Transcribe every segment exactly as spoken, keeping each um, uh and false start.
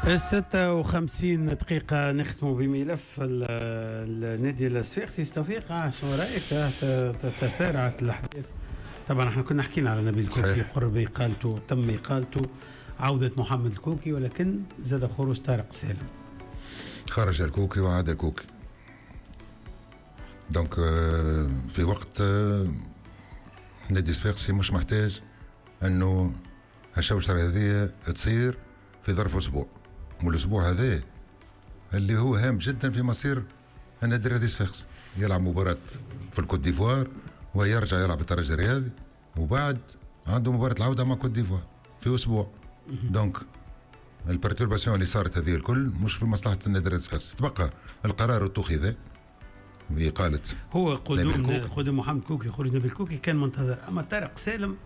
ستة وخمسين دقيقة نختم بملف النادي الصفاقسي. توفيق، آه شو رأيك؟ تسارعت الأحداث. طبعا احنا كنا حكينا على نبيل الكوكي، قرب إقالته، تم إقالته، عودة محمد الكوكي، ولكن زاد خروج طارق سالم. خرج الكوكي وعاد الكوكي. donc في وقت نادي الصفاقسي مش محتاج انه الشوشرة هذه تصير في ظرف اسبوع، والاسبوع هذا اللي هو هام جدا في مصير النادي الرياضي الصفاقسي. يلعب مباراة في الكوت ديفوار ويرجع يلعب الترجي الرياضي، وبعد عنده مباراة العودة مع كوت ديفوار في اسبوع. donc ال perturbation اللي صارت هذه الكل مش في مصلحة النادي الرياضي الصفاقسي. تبقى القرار اتخذ بإقالة هو قدوم قدوم محمد كوكي، خروج نبيل كوكي كان منتظر، اما طارق سالم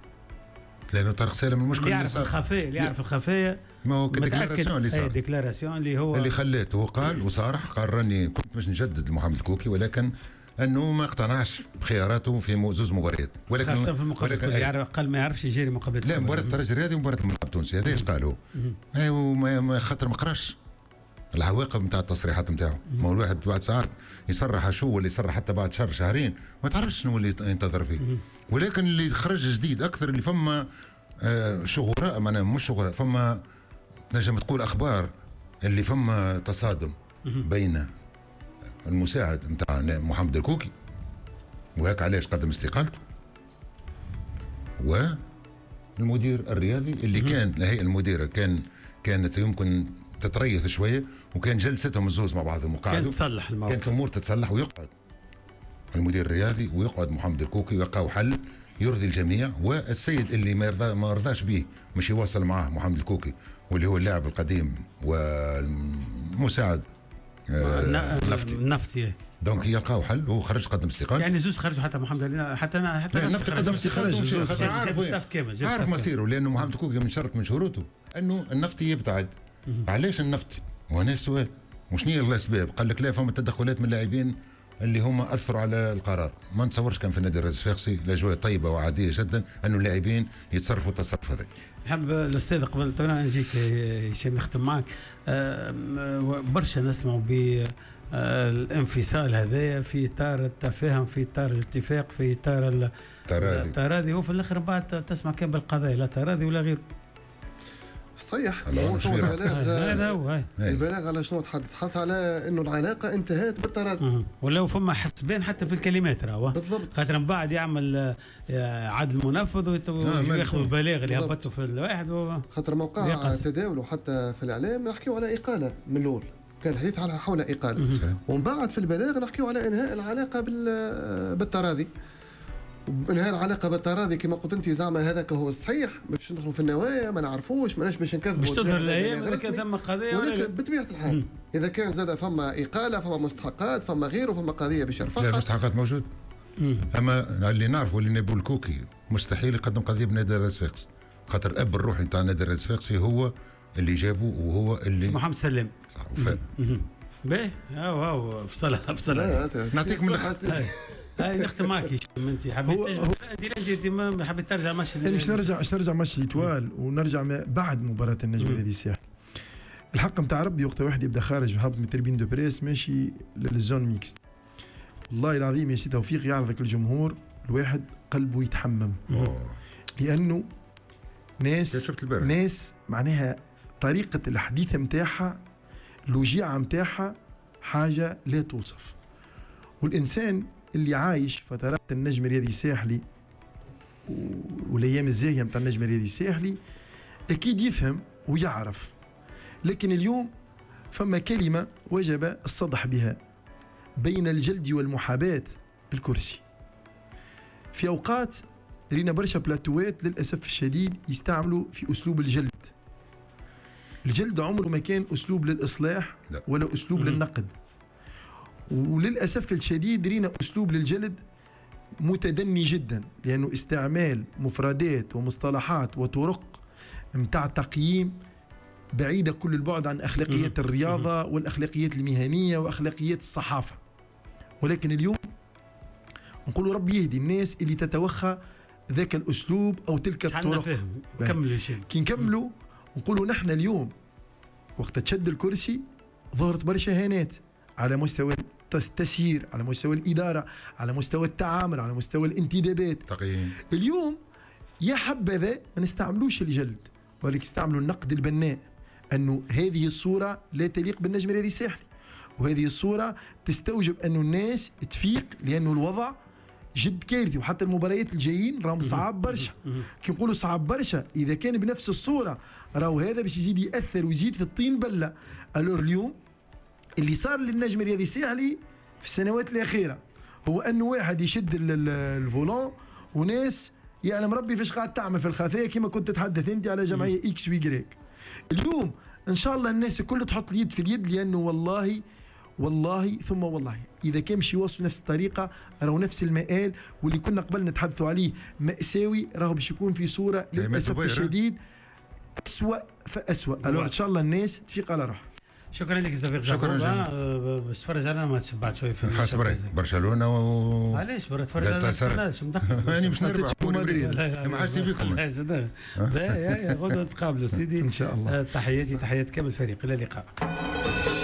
لانه طارق سالم المشكل اللي يعرف الخفايا، اللي يعرف الخفايا ما هو déclaration اللي صارت، déclaration اللي هو اللي خلاته هو قال وصارح، قال راني كنت باش نجدد لمحمد الكوكي، ولكن انه ما اقتنعش بخياراته في زوز مباريات، ولكن خاصة في المقابلة يعرف، قال ما يعرفش يجري مقابله، لا مباراة الترجي الرياضي ومباراة الملعب التونسي، هذا ايش قالوا؟ ايوا خاطر ما قراش العواقب نتاع التصريحات نتاعو. ما هو الواحد بعد ساعات يصرح شو ولا يصرح حتى بعد شهر شهرين ما تعرفش شنو اللي ينتظر فيه. ولكن اللي خرج جديد اكثر اللي فما آه شغراء، معناها مش شغراء، فما نجم تقول اخبار اللي فما تصادم بين المساعد نتاع محمد الكوكي، وهيك علاش قدم استقالته، والمدير الرياضي اللي كان الهيئة المديرة كان كانت يمكن تتريث شوية، وكان جلستهم الزوز مع بعضهم وقعدوا، كانت تصلح الموقف، كانت الامور تتصلح، ويقعد المدير الرياضي ويقعد محمد الكوكي ويلقاو حل يرضي الجميع. والسيد اللي ما يرضى ما رضاش به مش يواصل معاه محمد الكوكي، واللي هو اللاعب القديم والمساعد النفطي النفطي donc يلقاو حل. هو خرج قدم استقالته، يعني زوز خرجوا، حتى محمد حتى انا حتى النفطي قدم استقالته، عارف عارف مصيره، لانه محمد الكوكي من شرط من شروطه انه النفطي يبتعد. علاش النفطي؟ وهنا السؤال، وشنو هي الاسباب؟ قال لك لا فما تدخلات من اللاعبين اللي هما اثروا على القرار. ما نتصورش كان في النادي الرياضي الصفاقسي الاجواء طيبة وعاديه جدا انه اللاعبين يتصرفوا التصرف هذا. نحب الاستاذ قبل طبعا نجيك هشام نختم معك، برشا نسمعوا بالانفصال هذايا في اطار التفاهم، في اطار الاتفاق، في اطار التراضي، وفي الاخر بعد تسمع كان بالقضايا لا تراضي ولا غيره. صحيح. هو البلاغ البلاغ على شنو تحدث؟ تحدث على انه العلاقة انتهت بالتراضي، ولو فما حسبان حتى في الكلمات راهو بالضبط، خاطر من بعد يعمل عدل منفذ وياخذ البلاغ اللي هبطته في الواحد و... خاطر موقع تداوله حتى في الاعلام نحكيو على اقاله من الاول، كان الحديث على حول اقاله، ومن بعد في البلاغ نحكيو على انهاء العلاقة بال... بالتراضي. انهاء العلاقة بالتراضي كما قلت انت زعما هذاك هو الصحيح، باش ندخلوا في النوايا ما نعرفوش، ماناش باش نكذبوا، باش تظهر الايام اذا كان ثم قضية، ولكن بطبيعة الحال مم. اذا كان زاد فما اقاله، فما مستحقات، فما غيره، فما قضية باش يرفعها. لا المستحقات موجود، مم. اما اللي نعرفه اللي نبيل الكوكي مستحيل يقدم قضية بنادي الصفاقسي، خاطر الاب الروحي نتاع نادي الصفاقسي هو اللي جابه وهو اللي محمد سلام صح وفاء. باهي هاو هاو فصلها فصلها نعطيك من الاخر. هاي نختم معك هشام، انت حبيت انت انت حبيت ترجع ماتش، انا باش نرجع باش نرجع match l'Étoile ونرجع بعد مباراة النجم النادي الساحلي. الحق نتاع ربي وقت واحد يبدا خارج هابط من tribune de presse ماشي لل zone mixte، والله العظيم يا سي توفيق يعرضك الجمهور الواحد قلبه يتحمم، لانه ناس ناس معناها طريقه الحديث نتاعها الوجيعه نتاعها حاجة لا توصف. والانسان اللي عايش فترات النجم الرياضي الساحلي والايام الزاهيه نتاع النجم الرياضي الساحلي اكيد يفهم ويعرف، لكن اليوم فما كلمة وجب الصدح بها بين الجلد والمحاباه الكرسي. في اوقات رينا برشا بلاتوات للاسف الشديد يستعملوا في اسلوب الجلد. الجلد عمره ما كان اسلوب للاصلاح ولا اسلوب للنقد، وللأسف الشديد رينا أسلوب للجلد متدني جدا، لأنه استعمال مفردات ومصطلحات وطرق متاع تقييم بعيدة كل البعد عن أخلاقيات الرياضة والأخلاقيات المهنية وأخلاقيات الصحافة. ولكن اليوم نقول ربي يهدي الناس اللي تتوخى ذاك الأسلوب أو تلك الطرق. كي نكملوا نقولوا نحن اليوم وقت تشد الكرسي ظهرت برشا هانات على مستوى التسيير، على مستوى الادارة، على مستوى التعامل، على مستوى الانتدابات. تقييم. اليوم يا حبذا ما نستعملوش الجلد، ولكن استعملوا النقد البناء، انه هذه الصورة لا تليق بالنجم الرياضي الساحلي، وهذه الصورة تستوجب انه الناس تفيق، لانه الوضع جد كارثي، وحتى المباريات الجايين راهم صعاب برشا. كي نقولوا صعاب برشا اذا كان بنفس الصورة راهو هذا باش يزيد ياثر ويزيد في الطين بله. alors اليوم اللي صار للنجم الرياضي الساحلي في السنوات الاخيرة هو انه واحد يشد ال volant وناس يعلم ربي فاش قاعد تعمل في الخفايا، كما كنت تتحدث انت على جمعية X و Y. اليوم ان شاء الله الناس الكل تحط اليد في اليد، لانه والله والله ثم والله اذا كان باش يواصلوا نفس الطريقة راهو نفس المآل واللي كنا قبل نتحدثوا عليه مأساوي، راهو باش يكون في صوره للاسف الشديد اسوأ فاسوأ. alors ان شاء الله الناس تفيق على روحها. شكرا لك زفير. شكرا جزيلا. باش تفرج على ماتش بعد شوي في حسب رايك برشلونة و علاش برا تفرج على يعني مش نربح مدريد ما حاجتي بكم. لا يا غدوه نتقابلوا سيدي ان شاء الله. تحياتي تحيات كامل الفريق، الى اللقاء.